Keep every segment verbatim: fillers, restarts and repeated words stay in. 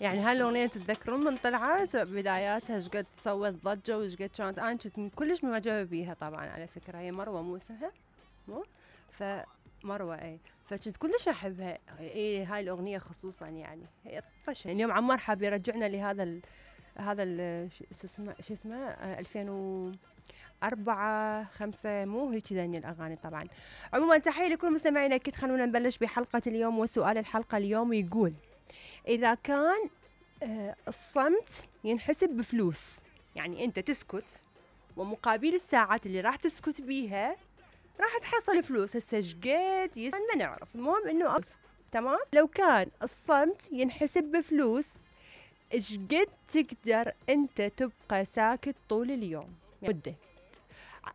يعني هاي الأغنية تتذكرون من طلعت بداياتها ايش قد سوت ضجة وايش قد كانت، أنا كنت كلش معجبة بيها طبعا على فكرة. هي مروة مو اسمها؟ مو؟ فمروة اي، فكنت كلش احبها. اي هاي الأغنية خصوصا يعني هي طشة. اليوم عمار حاب يرجعنا لهذا ال هذا ال شو اسمه شو اسمه آه، ألفين وأربعة خمسة مو هيك ذني الأغاني طبعا. عموما تحية لكل مستمعينا. أكيد خلونا نبلش بحلقة اليوم، وسؤال الحلقة اليوم يقول: إذا كان آه، الصمت ينحسب بفلوس، يعني أنت تسكت ومقابل الساعات اللي راح تسكت بيها راح تحصل فلوس. هسه شقد يس ما نعرف، المهم إنه أص... تمام. لو كان الصمت ينحسب بفلوس، ايش قد تقدر أنت تبقى ساكت طول اليوم؟ يعني مدة.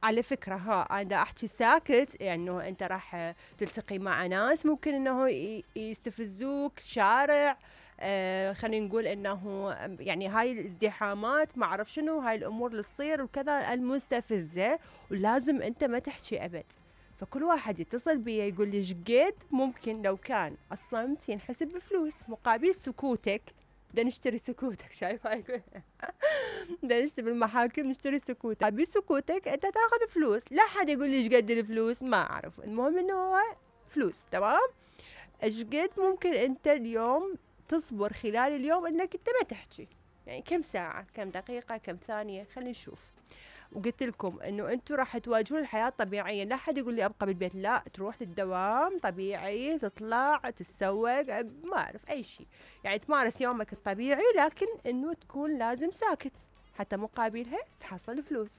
على فكرة ها أنا أحكي ساكت يعني إنه أنت راح تلتقي مع ناس ممكن إنه ي- يستفزوك شارع، آه خلينا نقول إنه يعني هاي الازدحامات ما أعرف شنو، هاي الأمور اللي تصير وكذا المستفزة، ولازم أنت ما تحكي أبد. فكل واحد يتصل بي يقول لي شقد ممكن لو كان الصمت ينحسب بفلوس مقابل سكوتك. بدنا نشتري سكوتك، شايف هاي بدنا نشتري بالمحاكم نشتري سكوتك، بسكوتك انت تاخذ فلوس. لا حد يقول لي ايش قد الفلوس ما اعرف، المهم انه هو فلوس. تمام. ايش قد ممكن انت اليوم تصبر خلال اليوم انك انت ما تحكي؟ يعني كم ساعة، كم دقيقة، كم ثانية، خلينا نشوف. وقلت لكم انه انتم راح تواجهون الحياه طبيعيا، لا حد يقول لي ابقى بالبيت، لا تروح للدوام طبيعي، تطلع تتسوق ما اعرف اي شيء، يعني تمارس يومك الطبيعي، لكن انه تكون لازم ساكت حتى مقابلها تحصل فلوس.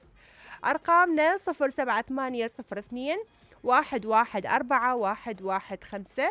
ارقامنا صفر سبعة ثمانية صفر اثنين واحد واحد أربعة واحد واحد خمسة.